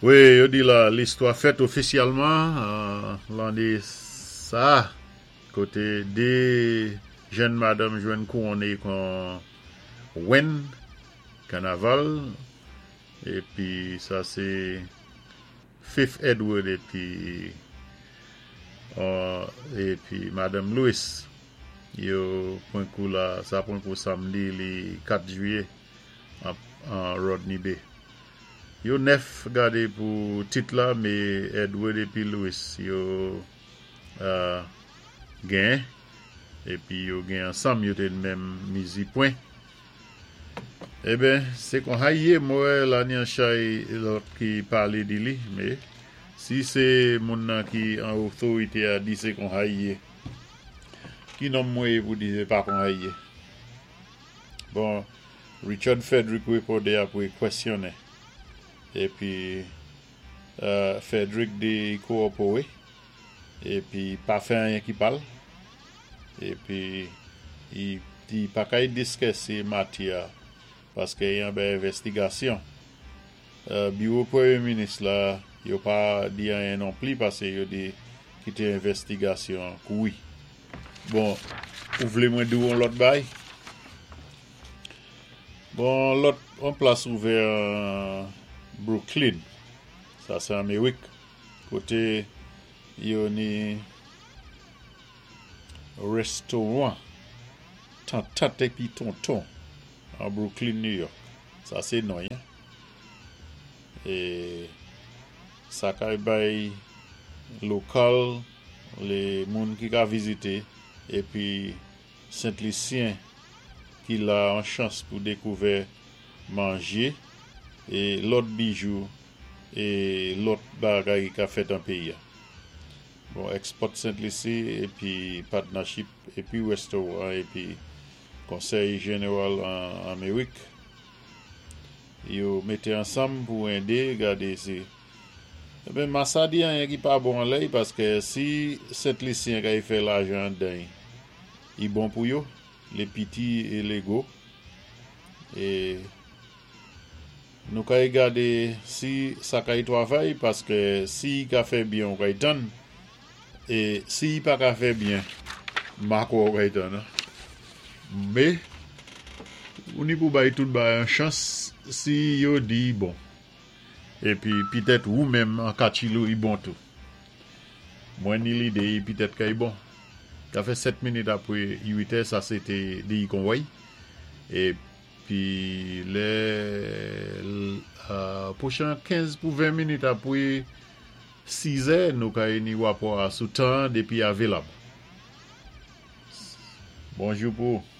Wi, yo di la listwa fèt ofisyèlman lanné sa koté 2 jèn madanm jwenn kouwonné kon wèn kanaval, épi sa sé Faith Edward épi Madanm Lewis. Yo pran kou la, sa pran kou samdi li 4 jwiyé an Rodney Bay. Yo 9 gade pou tit la, mé Edward épi Lewis yo genyen, épi yo gen ansanm, yo té menm mizi pwen. Eben, sé kon sa y yé, mwen wè la ni an chay lòt ki palé di li, mé si sé moun nan ki an otorité a di sé kon sa y yé, ki nonm mwen yé pou di sé pa kon sa y yé? Bon, Richard Frederick wépondé apwé kwèsyonnen, épi Frederick di y kowòpowé, épi pa fè anyen ki pal, épi y di y pa kay diskisé maté a paské y anba envèstigasyon. Biwo Pwémyé Minis la, yo pa di anyen nonpli pasé yo di kité envèstigasyon kouri. Bon, ou vlé mwen di ou on lòt bay? Bon, lòt on plas ouvè an Brooklyn, sa sé Amérik, koté yo ni restowan Tantant épi Tonton an Brooklyn, New York. Sa sé non y. É sa kay bay lokal lé moun ki ka vizité épi Sent Lisyen ki la an chans pou dékouvè manjé é lòt bijou é lòt bagay ki ka fèt an péyi a. Bon, Export Sent Lisi épi Partnership épi Restoran épi Konsèy Jeneral an Amérik yo mété ansanm pou édé gade si. Eben, ma sa di anyen ki pa bon anlè y, paské si Sent Lisyen kay fè lajan andan y, i bon pou yo, lé piti é lé gwo. É nou kay gade si sa kay twavay, paské si y ka fè byen, ou kay tann, é si y pa ka fè byen, ma kwè ou kay tann. Mé ou ni pou bay tout bagay an chans si yo di y bon. Épi pitèt ou menm an Kachilou y bon tou. Mwen ni lidé y pitèt kay bon. Ka fè 7 minit apwé 8 è, sa sé té di y konwèy. Épi lè pwochan 15 pou 20 minit apwé 6 è, nou kay ni wapò a sou tan dépi avelab. Bonjou pou ou.